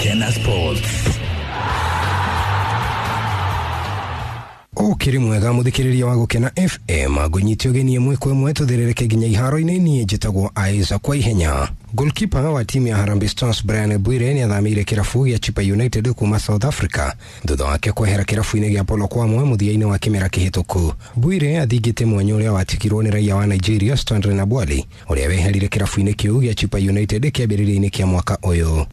Gukena Sports. Ukiri mwega muthikiriria wa Gukena FM, ngũnyite ũgeni ĩmwe kwa ĩmwe tũthĩrĩrĩke nginya iharo-inĩ. Niĩ njĩtagwo Isaac kwa ihenya. Goalkeeper wa timu ya Harambee Stars Brian Bwire nĩ athamĩire kĩrabu gĩa Chippa United kuma South Africa thutha wake kwehera kĩrabu-inĩ gĩa Polokwane mũthia-inĩ wa kĩmera kĩhĩtũku. Bwire athingĩte mwanya ũrĩa watigirwo nĩ raiya wa Nigeria Stanley Nabwali, ũrĩa weherire kĩrabu-inĩ kĩu gĩa Chippa United kĩambĩrĩria-inĩ kĩa mwaka ũyũ.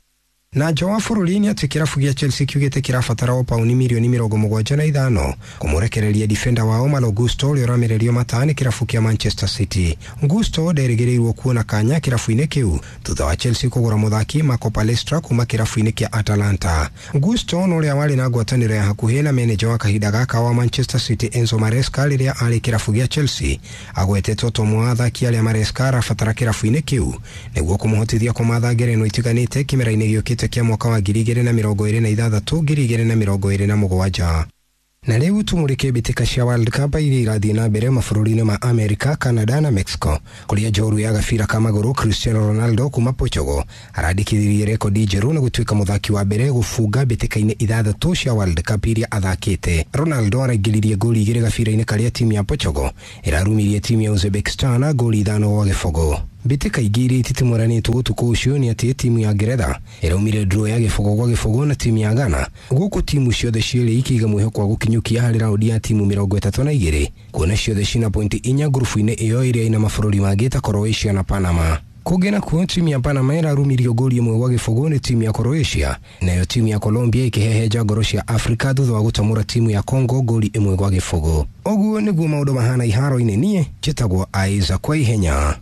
Na nja wa bũrũri nĩ atĩ kĩrabu gĩa Chelsea kiugĩte kĩrabatara o pauni mirioni 75 kũmũrekereria defender wao Malo Gusto, ũrĩa ũramererio mata nĩ kĩrabu kĩa Manchester City. Gusto nderĩgĩrĩirwo kuona kanya kĩrabu-inĩ kĩu thutha wa Chelsea kũgũra mũthaki Marco Palestra kuma kĩrabu-inĩ kĩa Atalanta. Gusto na ũrĩa warĩ na ngwatanĩro ya hakuhĩ na meneja wa kahinda gaka wa Manchester City Enzo Maresca rĩrĩa arĩ kĩrabu gĩa Chelsea, agwetetwo ta ũmwe wa athaki arĩa Maresca arabatara kĩrabu-inĩ kĩu nĩguo kũmũhotithia kũmatha ngerenwa itiganĩte kĩmera-inĩ gĩũkĩte kĩa mwaka wa 2026 2027. Na rĩu tumũrĩke mbĩtĩka cia World Cup iria irathiĩ na mbere mabũrũri-inĩ ma America, Canada na Mexico, kũrĩa njoru ya gabira ka magũrũ Cristiano Ronaldo kuma Portugal arandĩkithirie rekodi njerũ na gũtuĩka mũthaki wa mbere gũbunga mbĩtĩka-inĩ 6 cia World Cup iria athakĩte. Ronaldo araingĩririe ngoli 2 gabira-inĩ karĩa timu ya Portugal ĩrarumirie timu ya Uzbekistan ngoli 5-0. Mbĩtĩka ingĩ iria ititimũranĩtwo ũtukũ ũcio nĩ atĩ timu ya Ngeretha ĩraumire draw ya 0-0 na timu ya Ghana, gũkũ timu ciothe cierĩ ikĩiga mwĩhoko wa gũkinyũkia harĩ raundi ya timu 32, kuona ciothe cina pointi 4 ngurubu-inĩ ĩyo ĩrĩa ĩna mabũrũri mangĩ ta Croatia na Panama. Kũngĩ nakuo timu ya Panama ĩrarumirio ngoli 1-0 nĩ timu ya Croatia, nayo timu ya Colombia ĩkĩhehenja ngoro cia Afrika thutha wa gũtamũra timu ya Congo ngoli 1-0. Ũguo nĩguo maũndũ mahana iharo-inĩ. Niĩ njĩtagwo Isaac kwa ihenya.